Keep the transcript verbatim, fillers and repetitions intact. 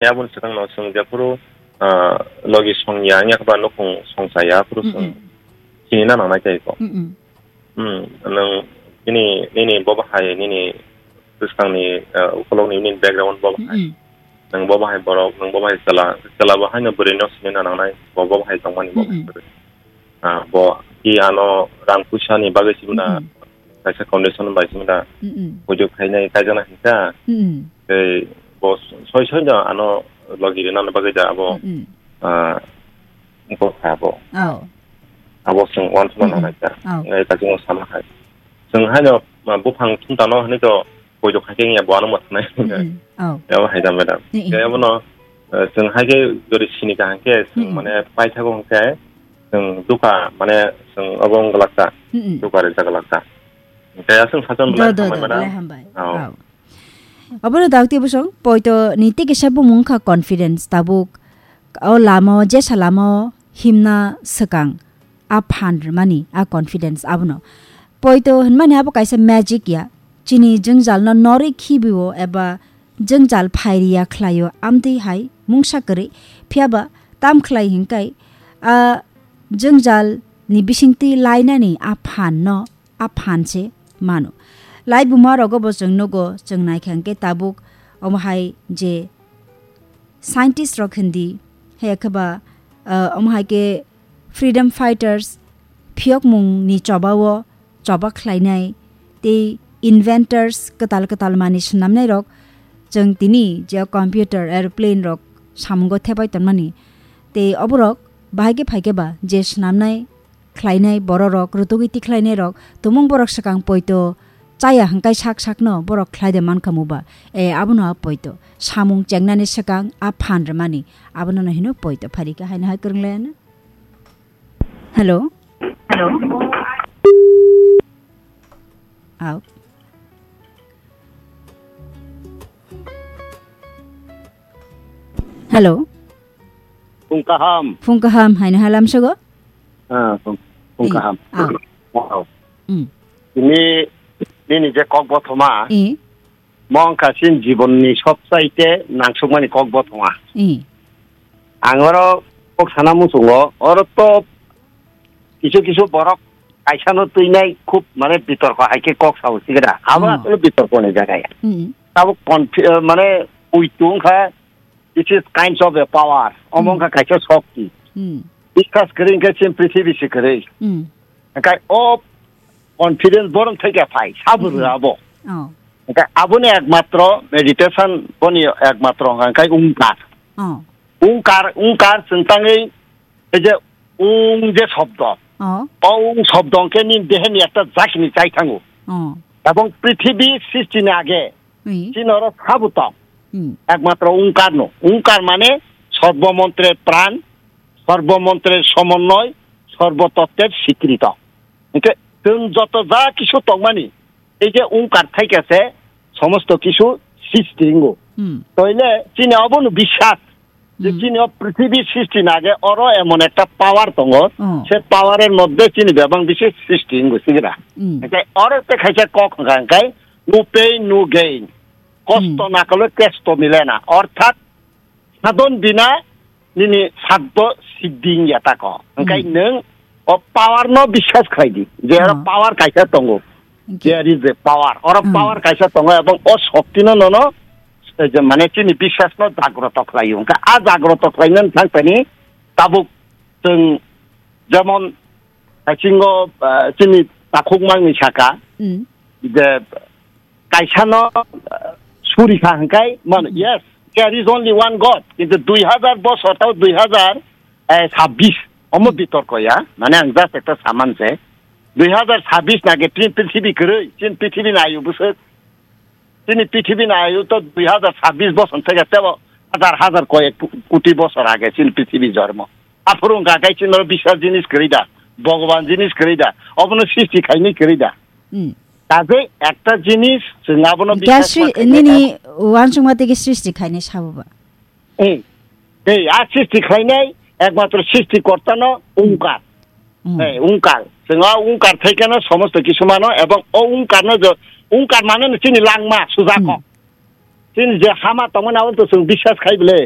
Aboni swkangno chwng jephuru, ah, logi songya wngya khe ba nukhung songchaya phuru chwng Mm-mm. sinina nangnai tei kho. Mm-mm. Hmm, nwng nini, nini bo bahai nini bwskangni, ah, ukologni nini background bo bahai. Mm-mm. Nwng bo bahai borok, nwng bo bahai chwla, chwla bo haino bwrwino sinina nangnai, bo, bo bahai tongmani bo Mm-mm. bahai. Ah, bo ki ano rang puisa ni bagwi sibuna Mm-mm. kaisa condition bai sibuna Mm-mm. pujo khainai kaijana hinka. Mm-mm. Tei bo soi soi no ano logi rina bagwi da abo, Mm-mm. ah, ko kha bo. Oh. Abo sung wan suna Mm-mm. nanai ta. Oh. Ngai ta jung sama hai. Sung haino, ah, buphang thum tano hani to pujo khai khe ya bo ano mo thanai. Mm-mm. Oh. Ya bo hai da madam. Mm-mm. Ya bo no, eh, sung hai ke gori sini ka hangke sung Mm-mm. mane pai thago hangke sung duka mane sung abo wng glak ta. Mm-mm. Duka re jaglak ta. Kaya sung sajon Do, belai do, hambai do, mana. Belai hambai. Oh. Oh. Obono dakti bosong, poito ni tiki sabo mungkha confidence tabuk. O lama o, jesa lama o himna swkang. A phan rwmani, a confidence abono. Poito hinmani abo kaisa magic ya. Chini jwngjalno norwi khibi o eba jwngjal phairiya khlaio amtwi hai mungsa kwrwi. Phiyaba tam khlai hinkai a jwngjal ni bisingtwi lainani a phan no a phan se mano. Laibuma rogo bo chwng nugo, chwng naikha hwnkhe tabuk omo hai je scientist rok hindi, haya khe ba, ah, omo hai khe freedom fighters, phiyokmung ni choba o choba khlainai, tei inventors kwtal kwtal manwi swnamnai rok, chwng tini je computer, aeroplane rok samungo thepai tonmani, tei oborok bahai khe phai khe ba je swnamnai, khlainai bororok, rutugwi tikhlainairok, tumung borok swkang poito chaya hwnkhe sak sakno borok khlai de mankha muba. E, abono a poito. Samung chengnani swkang a phan rwmani. Abono no hino poito pharikha haino hai kwrwng laiano. Hello? Hello? Au. Hello? Phung kaham. Phung kaham, haino halam sogo? Ah, phung, phung Eh, kaham. Ah. Wow. Mm. Ini, ini je kok bothoma. Eh. Mo wngkha chini jibonni sobsaite nangsukmani kok bothoma. Eh. Ang oro kok sana muchungo, oro to kisu kisu borok kaisano twinai khub mane bitorko hai khe kok sao sigra. Abo Oh. asole bitorkoni jaga ya. Mm. Tabuk confi-, eh, mane uitung kha, it is kinds of a power. Omo Mm. wngkha kaisa shokti. Mm. Biswas kwrwi hwnkhe chini prithibi se kwrwi. Mm. Hwnkhe o confidence borok thai khe phai, sabo Mm-hmm. rwya abo. Oh. Hwnkhe aboni ekmatro meditation boni ekmatro hwnkha hwnkhe ungkar. Oh. Ungkar, ungkar chwng tangwi ei je ung je shobdo. Oh. O ung shobdo hwnkhe nini deheni ekta jakini chai thango. Oh. Ebong prithibi srishti ni age Ui. Chini oro sabuto. Hmm. Ekmatro ungkar no. Ungkar mane sorbo montre pran, sorbo montre somonnoy, sorbo tottre sikrito. Hingke chwng joto ja kisu tongmani, ei je ungkar thaikhe se somosto kisu srishti wngo. Hmm. Toile chini obono biswas. Je Hmm. chini o prithibi srishti nage oro emon ekta power tongo, Hmm. se power er moddhe chini bebang bisi srishti wngo sigira. Hmm. Hingke oro te khaisa kok hwnkha hingke no pain, no gain. Kosto Hmm. na kole kesto mile na. Orthat sadon bina nini saddo siddhi wngya tako. Hingke Hmm. nwng o power no biswas khlai di. Je oro Hmm. power kaisa tongo. Hingke There is a power. Oro Hmm. power kaisa tongo ebong o shokti no nono, eh, je mane chini biswas no jagroto khlai o. Hingke a jagroto khlai nani thang tani tabuk chwng jemon Haisingo, ah, chini takhuk mangni saka Hmm. je kaisano, ah, suri kha hingkai mano, Hmm. yes, there is only one God. Kintu dui hazar bosor tao dui hazar, eh, sabbish omo Hmm. bitorko ya. Mane ang just ekta saman se. Dui hazar sabbish nage prin-, prithibi kwrwi, chin prithibi nayu bwswk. Chini prithibi nayu to dui hazar sabbish bosor theke tebo hazar hazar koyek pu-, koti bosor age chini prithibi jormo. Aphuru wngkha khe chini oro biswas jinis kwrwi da, Bhogoban jinis kwrwi da, obono srishti khainwi kwrwi da. Hmm. Kaje ekta jinis chwng abono Hingke biswas sri-, ma khainai nini uansukma tigi srishti khainai sabo ba? Eh, eh, a srishti khlainai ekmatro srishti kortano ungkar. Hmm. Eh, ungkar. Chwng o ungkar thaikeno somosto kisu mano ebong o ungkarno jo, ungkar mane no chini langma, sujako. Hmm. Chini je hama tongmani abo to chwng biswas khai bwle.